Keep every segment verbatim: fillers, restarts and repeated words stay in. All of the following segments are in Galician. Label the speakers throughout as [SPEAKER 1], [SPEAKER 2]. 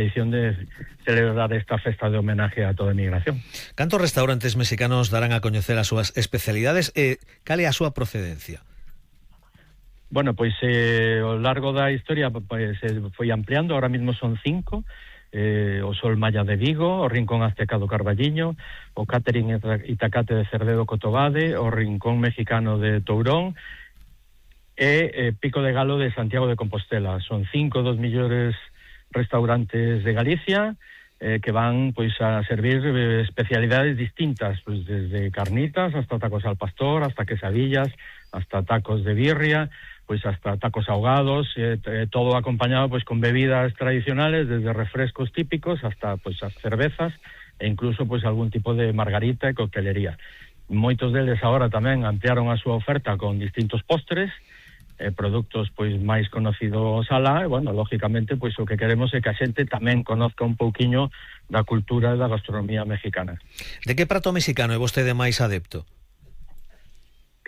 [SPEAKER 1] edición de celebrar esta festa de homenaje a toda a migración.
[SPEAKER 2] Cantos restaurantes mexicanos darán a coñecer as súas especialidades e cal é a súa procedencia?
[SPEAKER 1] Bueno, pois eh, ao largo da historia pois, eh, foi ampliando, ahora mismo son cinco, eh, o Sol Maya de Vigo, o Rincón Azteca do Carballiño, o Catering Itacate de Cerdedo Cotobade, o Rincón Mexicano de Tourón e eh, Pico de Galo de Santiago de Compostela. Son cinco dos millores restaurantes de Galicia eh, que van pois a servir eh, especialidades distintas, pois desde carnitas hasta tacos al pastor, hasta quesadillas, hasta tacos de birria, pois hasta tacos ahogados, eh, eh, todo acompañado pois con bebidas tradicionales, desde refrescos típicos hasta pois as cervezas e incluso pois algún tipo de margarita e coctelería. Moitos deles agora tamén ampliaron a súa oferta con distintos postres, Eh, produtos pois máis conocidos alá, e, bueno, lógicamente, pois o que queremos é que a xente tamén conozca un pouquiño da cultura e da gastronomía mexicana.
[SPEAKER 2] De que prato mexicano é vostede máis adepto?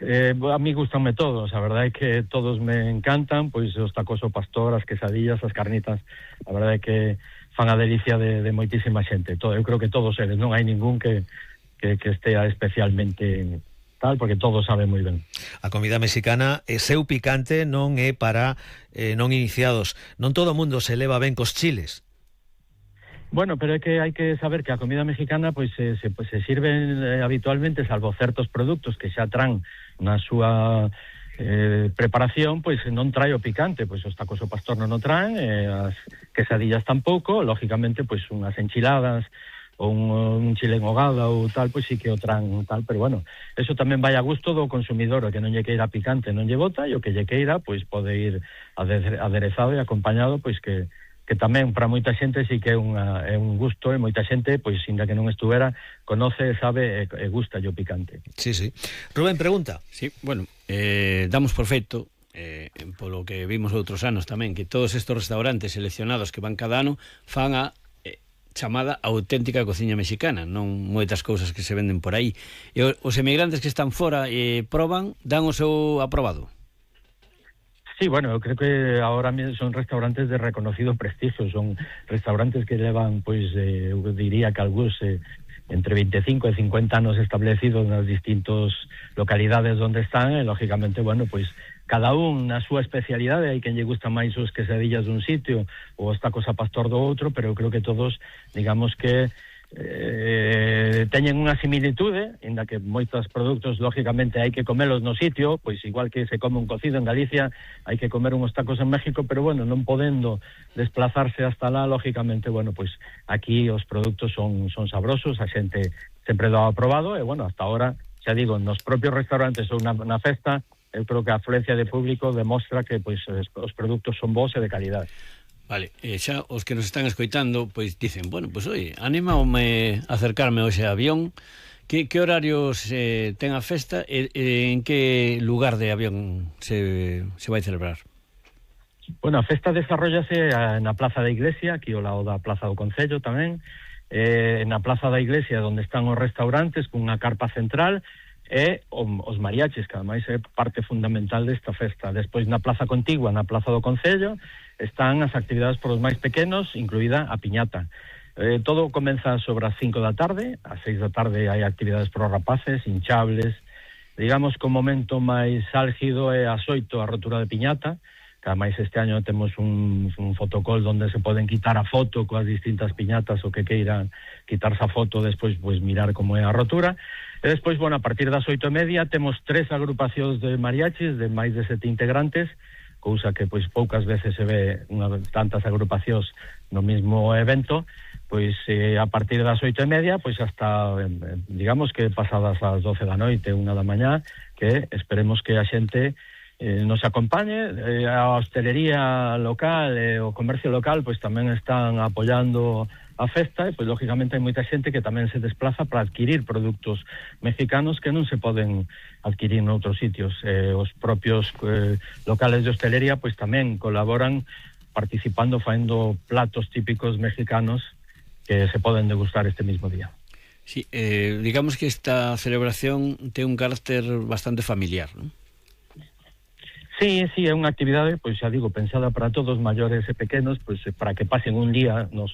[SPEAKER 1] Eh, a mí gustanme todos, a verdade é que todos me encantan, pois os tacos ao pastor, as quesadillas, as carnitas, a verdade é que fan a delicia de, de moitísima xente. Todo, eu creo que todos eles, non hai ningún que, que, que estea especialmente tal, porque todo sabe moi ben.
[SPEAKER 2] A comida mexicana é seu picante, non é para eh, non iniciados. Non todo o mundo se leva ben cos chiles.
[SPEAKER 1] Bueno, pero é que hai que saber que a comida mexicana pois se, se, pois, se sirve eh, habitualmente, salvo certos produtos que xa tran na súa eh, preparación, pois non trae o picante, pois os tacos ao pastor non o traen, eh, as quesadillas tampouco, lógicamente pois unhas enchiladas ou un, un chile en hogada ou tal, pois sí que o tran tal, pero bueno, eso tamén vai a gusto do consumidor, o que non lle queira picante non lle bota, e o que lle queira pois pode ir aderezado e acompañado, pois que que tamén para moita xente sí que é, unha, é un gusto, e moita xente, pois ainda que non estuvera, conoce, sabe e, e gusta o picante.
[SPEAKER 2] Sí, sí. Rubén, pregunta.
[SPEAKER 3] Sí, bueno, eh, damos por feito, eh, polo que vimos outros anos tamén, que todos estes restaurantes seleccionados que van cada ano fan a chamada auténtica cociña mexicana, non moitas cousas que se venden por aí. E os emigrantes que están fora e eh, proban, dan o seu aprobado?
[SPEAKER 1] Sí, bueno, eu creo que ahora son restaurantes de reconocido prestigio, son restaurantes que levan, pois, eh, eu diría que algúns eh, entre veinticinco e cincuenta anos establecidos nas distintas localidades onde están, e lógicamente, bueno, pois cada un na súa especialidade, hai quen lle gusta máis os quesadillas dun sitio ou os tacos a pastor do outro, pero eu creo que todos, digamos que eh, teñen unha similitude, inda que moitos produtos lógicamente hai que comelos no sitio, pois igual que se come un cocido en Galicia, hai que comer uns tacos en México, pero bueno, non podendo desplazarse hasta lá, lógicamente, bueno, pois aquí os produtos son, son sabrosos, a xente sempre do ha aprobado, e bueno, hasta ahora, xa digo, nos propios restaurantes ou na, na festa, eu creo que a afluencia de público demostra que pois os produtos son bons e de calidad.
[SPEAKER 3] Vale, e xa os que nos están escoitando pois dicen, bueno, pois oi, anímame a acercarme hoxe a avión. Que, que horarios eh, ten a festa e, e en que lugar de avión se, se vai celebrar?
[SPEAKER 1] Bueno, a festa desarrollase na Plaza da Iglesia, aquí ao lado da Plaza do Concello tamén, eh, na Plaza da Iglesia onde están os restaurantes cunha carpa central, e os mariachis, que ademais é parte fundamental desta festa. Despois na Plaza Contigua, na Plaza do Concello, están as actividades para os máis pequenos, incluída a piñata. Eh, todo comeza sobre as cinco da tarde, ás seis da tarde hai actividades para os rapaces, hinchables. Digamos que o momento máis álgido é ás oito a rotura de piñata, que ademais este año temos un, un fotocall onde se poden quitar a foto coas distintas piñatas, o que queiran quitarse a foto, despois pues, mirar como é a rotura. E despois, bueno, a partir das oito e media temos tres agrupacións de mariachis de máis de sete integrantes, cousa que pois poucas veces se ve unha, tantas agrupacións no mismo evento. Pois eh, a partir das oito e media, pois hasta, eh, digamos que pasadas as doce da noite, unha da mañá, que esperemos que a xente eh, nos acompañe. Eh, a hostelería local e eh, o comercio local pois tamén están apoiando a festa, e pois lógicamente hai moita xente que tamén se desplaza para adquirir produtos mexicanos que non se poden adquirir noutros sitios. Eh, os propios eh, locales de hostelería pois tamén colaboran participando, faendo platos típicos mexicanos que se poden degustar este mismo día.
[SPEAKER 3] Sí, eh, digamos que esta celebración ten un carácter bastante familiar, ¿no?
[SPEAKER 1] Sí, sí, é unha actividade, pois xa digo, pensada para todos, maiores e pequenos, pois para que pasen un día nos